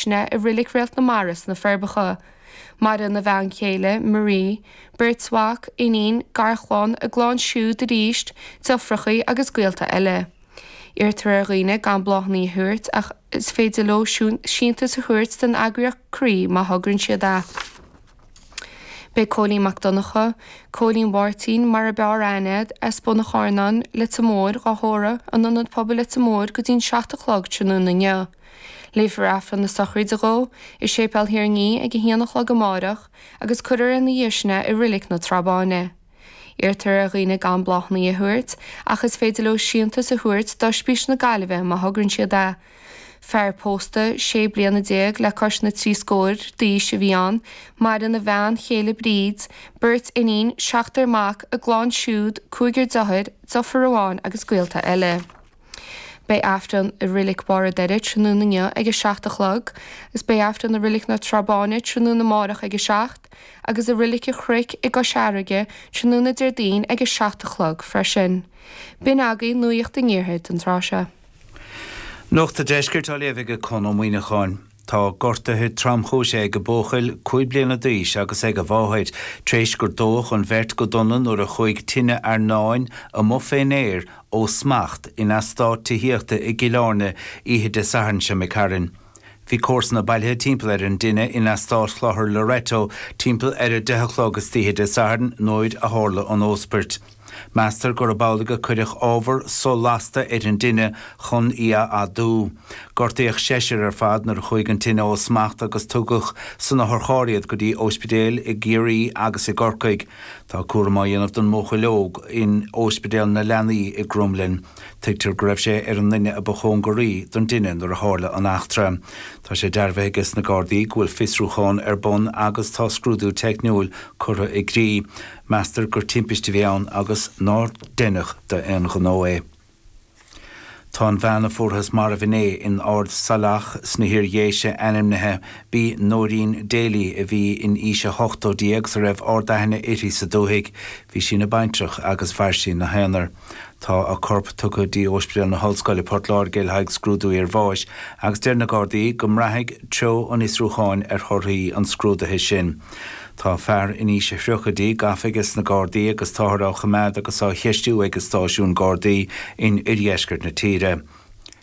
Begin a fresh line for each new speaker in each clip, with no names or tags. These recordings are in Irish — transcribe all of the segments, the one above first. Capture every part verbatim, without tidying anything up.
sin é i Reilig Réalt na Mara sna Forbacha. Maireann a bhean chéile, Marie, beirt mhac, iníon, garchlann, a gclann siúd arís, deirfiúracha agus gaolta eile. Iarrtar ar dhaoine gan bláthanna a thabhairt ach is féidir leo síntiús a thabhairt don eagraíocht Croí má thograíonn siad é. Beidh Cóilín Mac Donncha, Cóilín Mháirtín mar ab fhearr aithne air, as Bun an Charnáin, Leitir Móir, á thórramh in Ionad Pobail Leitir Móir go dtí'n seacht a chlog tráthnóna inniu. Léifear Aifreann na sochraide dhó i Séipéal Thír an Fhia ag a haon a chlog amárach agus cuirfear ina dhiaidh sin é i Reilig na Trá Báine. Iarrtar ar dhaoine gan bláthanna a thabhairt ach is féidir leo síntiús a thabhairt d'Oispís na Gaillimhe má thograíonn siad é. Fear pósta sé bliana déag le cois na trí scór d'aois a bhí ann, maireann a bhean chéile Bríd, beirt iníon, seachtar mac, a gclann siúd, cúigear deartháir, deirfiúr amháin agus gaolta eile. Beidh Aifreann i Reilig Bharr an Doire tráthnóna inniu ag a seacht a chlog, agus beidh Aifreann i Reilig na Trá Báine tráthnóna amárach ag a seacht, agus i Reilig an Chnoic i gCois Fharraige tráthnóna Déardaoin ag a seacht a chlog freisin. B'in agaibh nuacht an iarthair don tráth seo.
Nuacht an Deiscirt á léamh ag Conn Ó Muíneacháin. Tá gortuithe tromchúise ag buachaill cúig bliana d'aois agus ag a mháthair, tar éis gur dódh an bheirt go dona nuair a chuaigh tine airneáin amuigh fén aer ó smacht in eastát tithíochta i gCill Airne oíche Dé Sathairn seo imigh tharainn. Bhí comharsana bailithe timpeall ar an dtine in eastát Chlochar Loreto timpeall ar a deich a chlog istoíche Dé Sathairn nuair a tharla an óspairt. Meastar gurb amhlaidh a cuireadh ábhar so-lasta ar an dtine chun í a fhadú. Gortaíodh seisear ar fad nuair a chuaigh an tine ó smacht agus tugadh san otharcharr iad go dtí ospidéil i gCiarraí agus i gCorcaigh. Tá cúram á dhéanamh don mbuachaill óg in Ospidéal na Leanaí i gCromghlinn. Tuigtear go raibh sé ar an nduine a ba chóngaraí don dtine nuair a tharla an eachtra. Tá sé dearbhaithe aige sna Gardaí go bhfuil fiosrúchán ar bun agus tá scrúdú teicniúil curtha i gcrích. Meastar gur timpiste a bhí ann agus nár deineadh d'aon ghnó é. Tá an bhean a fuarthas marbh inné in Ard Saileach sna hIar-Dhéise ainmnithe. B'í Nóirín Daly a bhí in aois a hochtóidí agus a raibh ard-aithne uirthi sa dúthaigh. Bhí sí ina baintreach agus mhair sí ina haonar. Tá a corp tugtha dtí Ospidéal na hOllscoile Port Láirge le haghaidh scrúdú iarbháis agus deir na Gardaí go mbraithfidh treo an fhiosrúcháin ar thorthaí an scrúdaithe sin. Tá fear in aois a thríochaidí gafa aige sna Gardaí agus táthar á choimeád agus á cheistiú ag an stáisiún Gardaí in oirdheisceart na tíre.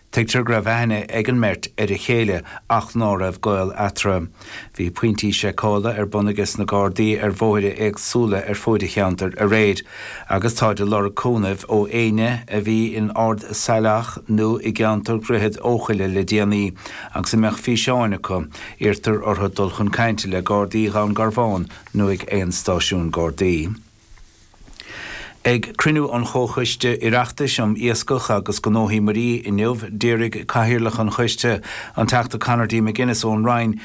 Tuigtear go raibh aithne ag an mbeirt ar a chéile ach ná raibh gaol eatarthu. Bhí pointí seiceála ar bun aige sna Gardaí ar bhóithre éagsúla ar fuaid an cheantair aréir, agus táid ag lorg cúnaimh ó éinne a bhí in Ard Saileach nó i gceantar Dhroichead Eochaille le déanaí agus a mbeadh físeáin acu. Iarrtar orthu dul chun cainte le Gardaí Dhún Garbhán nó ag aon stáisiún Gardaí. Ag cruinniú an Chomhchoiste Oireachtais um Iascach agus Gnóthaí Muirí inniu, d'fhiafraigh Cathaoirleach an Choiste, an Teachta Conor D. McGuinness ón Rinn,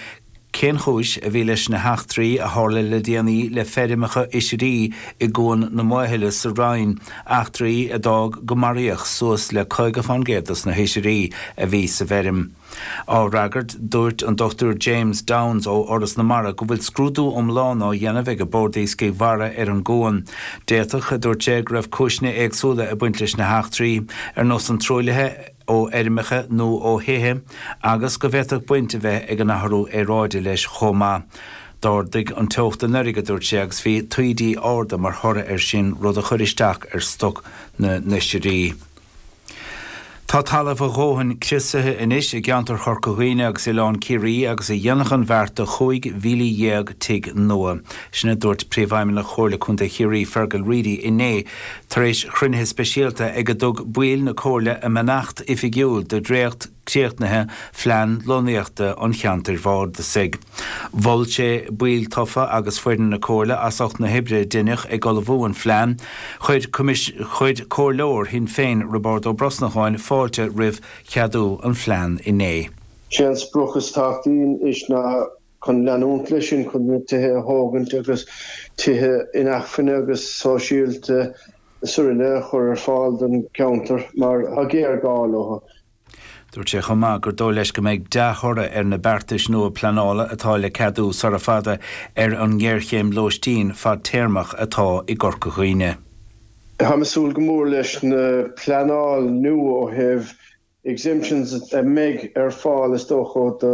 cén chúis a bhí leis na heachtraí a tharla le déanaí le feirmeacha oisrí i gCuan na Maothaile sa Rinn, eachtraí a d'fhág go maraíodh suas le caoga fán gcéad dos na hoisrí a bhí sa bhfeirm. Á fhreagairt, dúirt an Dochtúir James Downes ó Fhoras na Mara go bhfuil scrúdú iomlán á dhéanamh ag an Bord Iascaigh Mhara ar an gcuan. D'fhéadfadh, a dúirt sé, go raibh cúiseanna éagsúla ag baint leis na heachtraí, ar nós an truaillithe ó fheirmeacha nó ó thithe, agus go bhféadfadh baint a bheith ag an athrú aeráide leis chomh maith. D'ardaigh an teocht anuraidh, a dúirt sé, agus bhí taoidí arda mar thoradh air sin, rud a chuir isteach ar stoc na n-oisrí. Tá talamh a dhóthain criosaithe anois i gceantar Chorca Dhuibhne agus Oileán Ciarraí agus a dhéanfadh an bheart do chúig mhíle dhéag tigh nua. Sin a dúirt Príomhfheidhmeannach Chomhairle Contae Chiarraí, Fergal Reidy, inné tar éis chruinnithe speisialta ag a dtug baill na Comhairle a mbeannacht oifigiúil do dhréacht críochnaithe Phlean Lonnaíochta an Cheantair Bhardasaigh. Mhol sé baill tofa agus foireann na Comhairle as ucht na hoibre a deineadh ag ullmhú an phlean. Chuir Chuir Comhairleoir Shinn Féin, Roibeárd Ó Brosnacháin, fáilte roimh cheadú an phlean inné.
Sé an sprioc is tábhachtaí anois ná chun leanúint leis sin, chun na tithe a thógaint agus tithe inacmhainne agus sóisialta is araile a chur ar fáil don cheantar mar tá géarghá leo.
Dúirt sé chomh maith gur dóigh leis go mbeidh dea-thoradh ar na beartais nua pleanála atá le ceadú sara fada ar an ngéarchéim lóistín fadtéarmach atá i gCorca Dhuibhne.
Táim ag súil go mór leis na pleanáil nua ó thaobh exemptions a mbeidh ar fáil is dócha do